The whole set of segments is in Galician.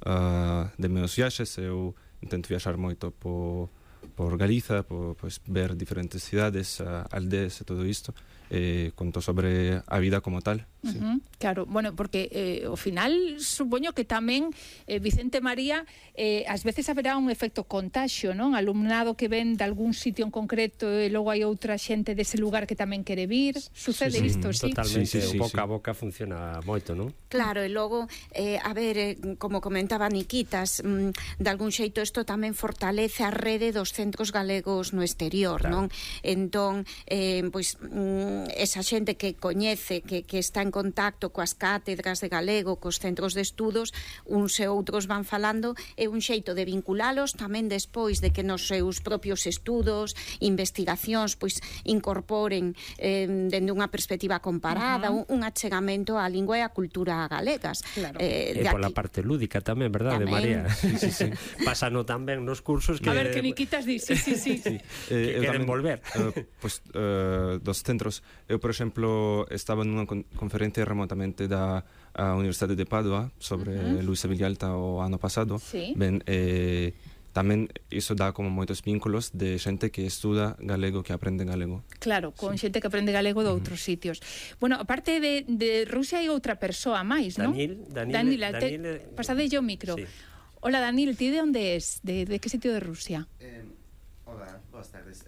de meus viaxes. Eu intento viaxar moito por Galiza, pois ver diferentes cidades, aldeas e todo isto. Conto sobre a vida como tal. Sí. Claro, bueno, porque ao final supoño que tamén Vicente María, ás veces haberá un efecto contaxio, non? Alumnado que ven de algún sitio en concreto e logo hai outra xente dese lugar que tamén quere vir. Sucede isto, sí? Totalmente, o boca a boca funciona moito, non? Claro, e logo, a ver, como comentaba Niquitas, de algún xeito isto tamén fortalece a rede dos centros galegos no exterior, non? Entón, pois, esa xente que coñece, que está en contacto coas cátedras de galego, cos centros de estudos, uns e outros van falando, é un xeito de vinculalos tamén despois de que nos seus propios estudos, investigacións, pois incorporen dende unha perspectiva comparada, un achegamento á lingua e á cultura galegas. Claro. E pola parte lúdica tamén, verdade, María? Sí. Pásano tamén nos cursos que... A ver, que Niquitas di, sí. Que queren volver. Pois, dos centros. Eu, por exemplo, estaba nunha conferencia remotamente da Universidade de Padua sobre Luisa Villalta o ano pasado. Sí. Ben, tamén iso dá como moitos vínculos de xente que estuda galego, que aprende galego. Claro, con xente que aprende galego de outros sitios. Bueno, aparte de Rusia hai outra persoa máis, non? Danil, pasadelle o micro. Sí. Hola, Danil, ti de onde és? De que sitio de Rusia? Hola, boas tardes.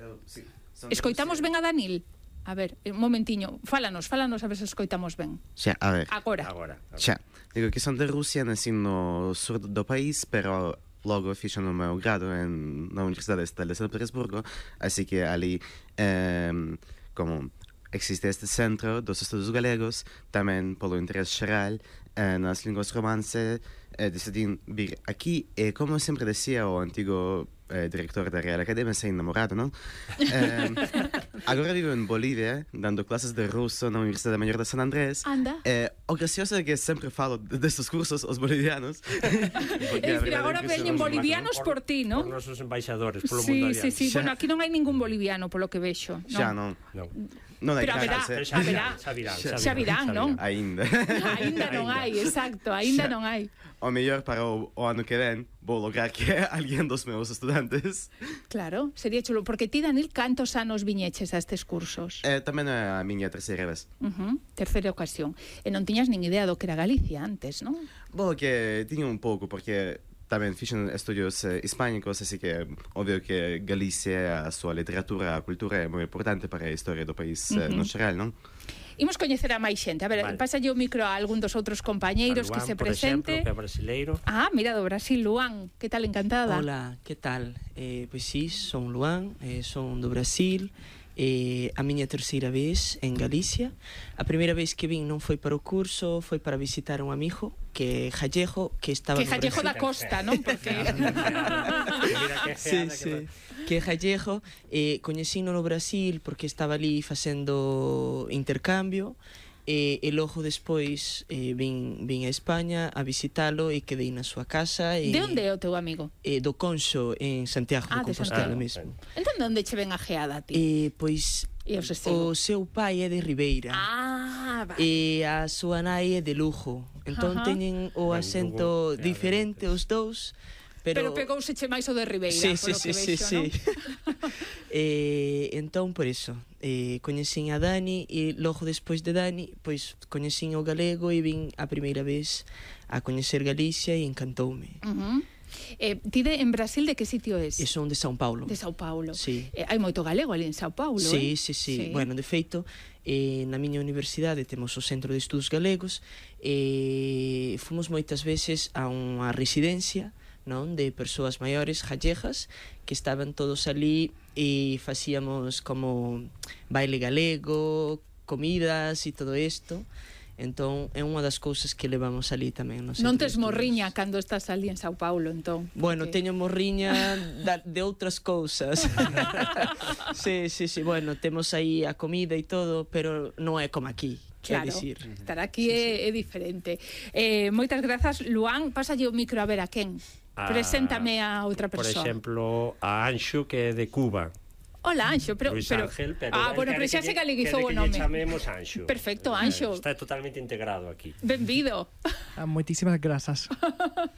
Escoitamos ben a Danil? A ver, un momentiño, fálanos a ver se escoitamos ben. Xa, a ver. Agora. Xa, digo que son de Rusia, nací no sur do país, pero logo fixo no meu grado na Universidade Estatal de San Petersburgo, así que ali, como existe este centro dos estudos galegos, tamén polo interés xeral nas linguas romance, decidín vir aquí, e como sempre decía o antigo director da Real Academia, sei namorado, non? Agora vivo en Bolivia, dando clases de ruso na Universidade Maior de San Andrés. Anda. O gracioso é que sempre falo destes cursos aos bolivianos. Agora veñen bolivianos por ti, non? Por nosos embaixadores, polo mundo adiante. Sí. Bueno, aquí non hai ningún boliviano, polo que vexo. Xa, non. Non hai pero xa virán, non? Aínda non hai, exacto, aínda non hai. O mellor para o ano que ven vou lograr que alguén dos meus estudantes. Claro, sería chulo, porque ti, Danil, cantos anos viñeches a estes cursos? Tamén a miña terceira vez. Terceira ocasión. E non tiñas nin idea do que era Galicia antes, non? Bo, que tiña un pouco, porque tamén fixen estudios hispánicos, así que obvio que Galicia, a súa literatura, a cultura é moi importante para a historia do país no xeral, non? Imos coñecer a máis xente. A ver, pásalle o micro a algún dos outros compañeiros que se presente. Por exemplo, que é brasileiro. Mira, do Brasil, Luan. Que tal, encantada? Hola, que tal? Pois sí, son Luan, son do Brasil. A miña terceira vez en Galicia. A primeira vez que vin non foi para o curso, foi para visitar un amigo que é gallego, que estaba que gallego da costa, non? Porque que é gallego, coñecino no Brasil porque estaba ali facendo intercambio. E logo despois vin a España a visitalo e quedei na súa casa. De onde é o teu amigo? Do Conxo, en Santiago de Compostela mesmo. Entón, onde che ven ajeada a ti? Pois o seu pai é de Ribeira. Vale. E a súa nai é de Lugo. Entón teñen o acento diferente os dous. Pero pegouseche máis o de Ribeira, sí. Entón, por iso coñecín a Dani, e logo despois de Dani pois coñecín o galego e vin a primeira vez a coñecer Galicia e encantoume. Ti en Brasil de que sitio és? Son de São Paulo. De São Paulo. Sí. Hai moito galego ali en São Paulo, Sí. Bueno, de feito, na miña universidade temos o Centro de Estudos Galegos e fomos moitas veces a unha residencia, non, de persoas maiores gallegas que estaban todos ali e facíamos como baile galego, comidas e todo isto. Entón, é unha das cousas que levamos ali tamén. Non tes morriña cando estás ali en São Paulo, entón? Bueno, teño morriña de outras cousas. Sí, bueno, temos aí a comida e todo, pero non é como aquí. Claro, estar aquí é diferente. Moitas grazas, Luan. Pásalle o micro a ver a quen. Preséntame a outra persoa. Por exemplo, a Anxo, que é de Cuba. Hola, Anxo, pero bueno, pero xa se galeguizou o nome. Que chamemos Anxo. Perfecto, Anxo. Está totalmente integrado aquí. Benvido. Moitísimas grazas.